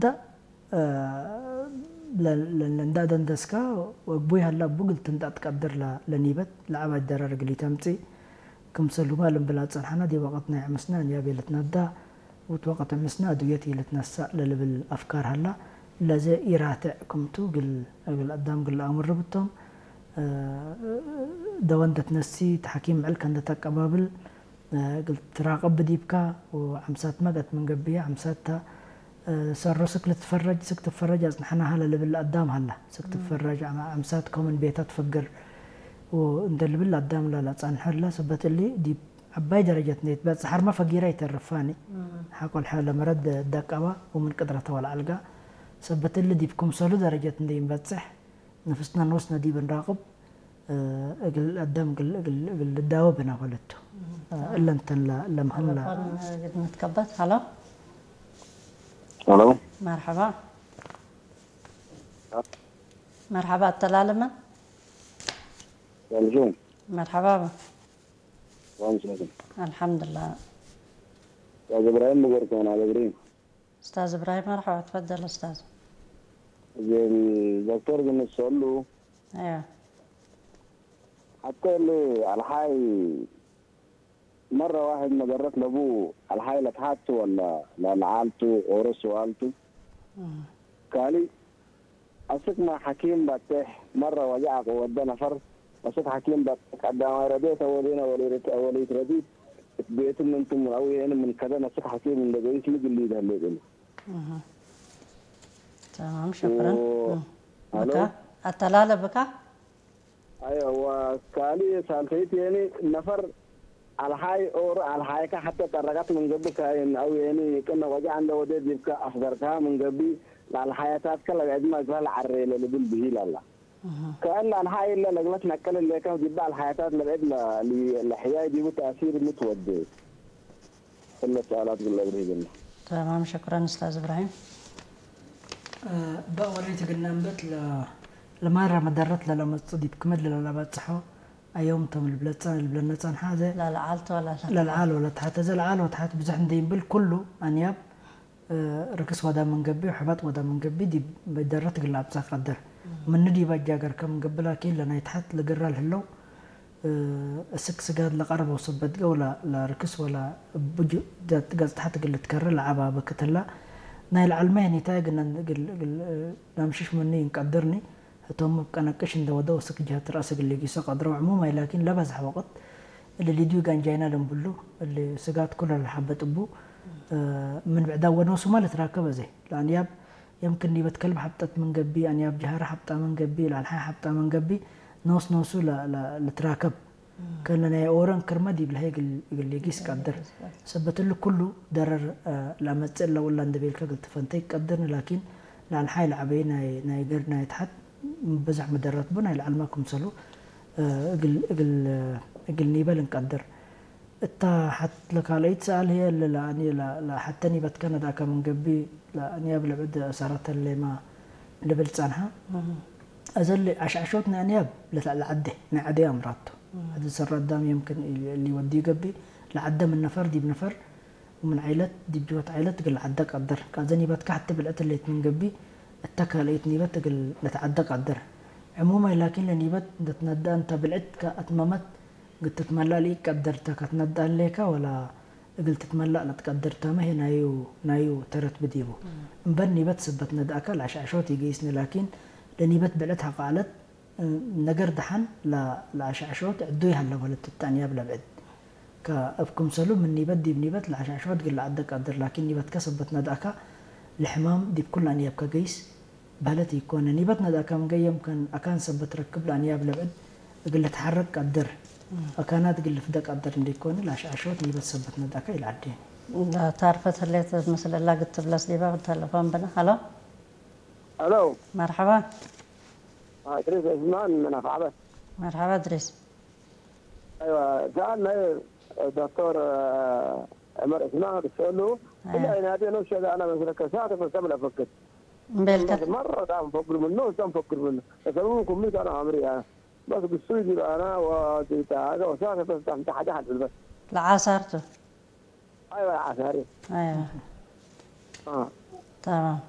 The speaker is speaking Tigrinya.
ዳ ለንዳ ደንደስካ ወግቡይ ሀላ ቡግል ትንጣጥ ቀድር ለኒበት ለአባይ ደረር ግሊ ተምጺ ክምሰል ሁባ ልንብላ ጸንሐና ዲ ወቀት ናይ ዕምስና እንያ ቤለትና ዳ ውት ወቀት ዕምስና ዱየት ይልትነሳእ ለልብል አፍካር ሀላ ለዘ ኢራትዕ ክምቱ ግል እግል አዳም ግል አምር ብቶም ደወንደት ነሲ ተሐኪም ምዕል ከንደት አቀባብል እግል ትራቀብ ብዲብካ ወዐምሳት መገት ምን ገብየ ዐምሳታ ሰሮ ስክ ልትፈረጅ ስክ ትፈረጅ አጽንሐና ሀለ ልብል አዳም ሀላ ስክ ትፈረጅ ዐምሳት ኮምን ቤታ ትፈግር እንደ ልብል አዳም ላላ ጻንሐ ላ ሰበት እሊ ዲብ ዐባይ ደረጀት እንደ ይትበጽሕ ሐርማ ፈጊራ ይተርፋኒ ሐቆል ሐለ መረድ ደቀባ ወምን ቅድረተ ወልዐልጋ ሰበት እሊ ዲብ ክምሰሉ ደረጀት እንደ ይንበጽሕ ነፍስና ንወስነ ዲብ እንራቅብ እግል አዳም እግል እግል እግል ልዳወ ብና በለቱ እለንተን ለምህም ላ ተለፎን ግድ ንትከበት። ሀሎ ሄሎ መርሐባ መርሐባ። አተላለመን ሰላም መርሐባ። ሰላም ሰላም። አልሐምዱሊላህ። ኡስታዝ እብራሂም ብጎርኮና በግሪ። ኡስታዝ እብራሂም መርሐባ። ትፈደል ኡስታዝ። እዚም ዶክተር ግን ሰሉ ايوه. حتى اللي الحاي مرة واحد ما قررت لأبوه الحاي لتحت ولا لعالته ورث والته. قال لي أسك ما حكيم باتح مرة وجعك وودى نفر أسك حكيم باتح قدام رديت ولينا وليت رديت بيت من انتم من أوي من كذا نسك حكيم من دقيت مجلي ده اللي قلت. تمام شكرا. و- مم. ألو؟ بكا؟ التلالة بكا؟ أيوة وكالي سالتيت يعني نفر الحاي أور الحاي كا حتى ترقت من قبل كاين أو يعني كنا وجع عنده ودي بيبكى أخضر كا من قبل لا الحياتات كلا بعد ما قال عري لبل به لا لا كأن الحاي إلا لقلت نكل اللي كان جبال الحياتات لبعد لا لحياي دي تأثير متودي. كل السؤالات قلنا بريدنا. تمام شكرا أستاذ إبراهيم. በእወለይ ትግና እምበት ለማራ መደረት ለለመጹ ዲብ ክመድ ለለባጽሖ ኣዮም ቶም ልብለጻ ልብለነ ጸንሓ ዘ ለልዓልቶ ለልዓል ወለትሓት ዘ ለዓል ወትሓት ብዙሕ እንደ ይንብል ኩሉ ኣንያብ ርክስ ወዳ መንገቢ ሕበጥ ወዳ መንገቢ ዲብ በደረት ግላ ኣብጻ ቀደር ምንዲ ባጃገር ከም ገብላ ኪን ለናይ ትሓት ልግራ ልህለው እስክ ስጋድ ለቀረበው ሰበት ገው ለርክስ ወላ ብጁ ገጽ ታሕት ግል ትከረ ለዓባ በክትላ ናይ ለዓልመ ኒታ ግነን ግል ግል ናምሽሽ ምኒ ይንቀድርኒ እቶም ቀነቅሽ እንደ ወደው እስክ ጀህት ራስ ግል ጊሰ ቀድረው ዕሙም ኣይላኪን ለበዝሕ ወቅት እሊ ሊድዩ ጋንጃይና ለንብሉ እሊ ስጋት ኩለ ለሓበጥቡ ምን ብዕዳ ወነው ሱማ ለትራከበ ዘይ ለአንያብ የምክን ኒበት ከልብ ሐብጠት ምን ገቢ፣ አንያብ ጀሃረ ሐብጣ ምን ገቢ፣ ለአልሓይ ሐብጣ ምን ገቢ፣ ኖስ ኖሱ ለትራከብ። ከነ ናይ ኦረን ክርመ ዲብ ለሀይ እግል ሊጊስ ቀድር። ሰበት እሊ ኩሉ ደረር ለአመጽእ ለወላ እንደ ቤልከ እግል ትፈንተ ይቀድርን፣ ላኪን ለአልሓይ ለዐበይ ናይ ገርድ ናይ ተሐት ብዘሕ መደረት ቡ ናይ ለዐልመ ክምሰሉ እግል ኒበል እንቀድር። እታ ሐት ለካልአይት ሰኣል ህዬ እለ ለአንየ ለሐተኒ በትከ ነድአከ ምን ገቢ ለአንያብ ለብዕድ እሳረተ ሌማ ልብል ጸንሐ። አዘ እሊ አሽዐሾት ናይ አንያብ ለተዕለ ዐዴ ናይ ዐዴ አምራቱ። ዐዲ ሰረ አዳም የምክን እሊ ወዲ ገቢ ለዐደ ምን ነፈር ዲብ ነፈር ወምን ዓይለት ዲብ ጅወት ዓይለት እግል ለዐደ ቀድር። ከአዘ ኒበትከ ሐቲ ብልዕት ህሌት ምን ገቢ እተ ካልአይት ኒበት እግል ለተዐደ ቀድር። ዕሙማይ ላኪን ለኒበት እንደ ትነደአ እንተ ብልዕት ከአትመመት እግል ትትመላእ ለኢቀድር ተ ከትነድእ ህሌከ ወላ እግል ትትመላእ ለትቀድር ተመ ህዬ ናዩ ናዩ ተረት ብዲቡ። እምበር ኒበት ሰበት ነድአከ ለአሽዐሾት ኢገይስኒ ላኪን ለኒበት ብዕለት ሐቃለት ነገር ደሐን ለአሽዐሾት ዕዱይ ሀለ በለት እተ አንያብ ለብዕድ። ከእብ ክምሰሉ ምን ኒበት ዲብ ኒበት ለአሽዐሾት እግል ለዐደ ቀድር ላኪን ኒበትከ ሰበት ነድአከ ለሕማም ዲብ ኩሉ አንያብከ ገይስ በህለት ኢኮነ። ኒበት ነድአከ ምንገ የምከን አካን ሰበት ረክብ ለአንያብ ለብዕድ እግል ልትሐረቅ ቀድር፣ አካናት እግል ልፍደ ቀድር እንዴኮነ ለአሽዐሾት ኒበት ሰበት ነድአከ ኢልዐዴ። ታርፈት ህሌት ምስል እላ ግትብለስ ዲባ ተለፎን ብነ። ሀሎ ሄሎ። መርሐባ። እድሪስ ዑስማን ምን አፍዓበት። መርሐባ እድሪስ። አይዋ ሰኣል ናይ ዶክተር ዑመር ዑስማን ክሰሉ እላ ይናቴ ነው ሸጋ አና መስለከ ሰዓት ፈሰብ ለፈክር እምቤልከ مرة تعرف نفكر منه، نفكر منه. بس أنا ممكن مش أنا عمري يعني. بس قصوي دي أنا وتعالى وساعة بس تعمل تحت أحد في البس. ለዓሳርቱ። أيوة يا عساري. አይዋ። آه. ተማም።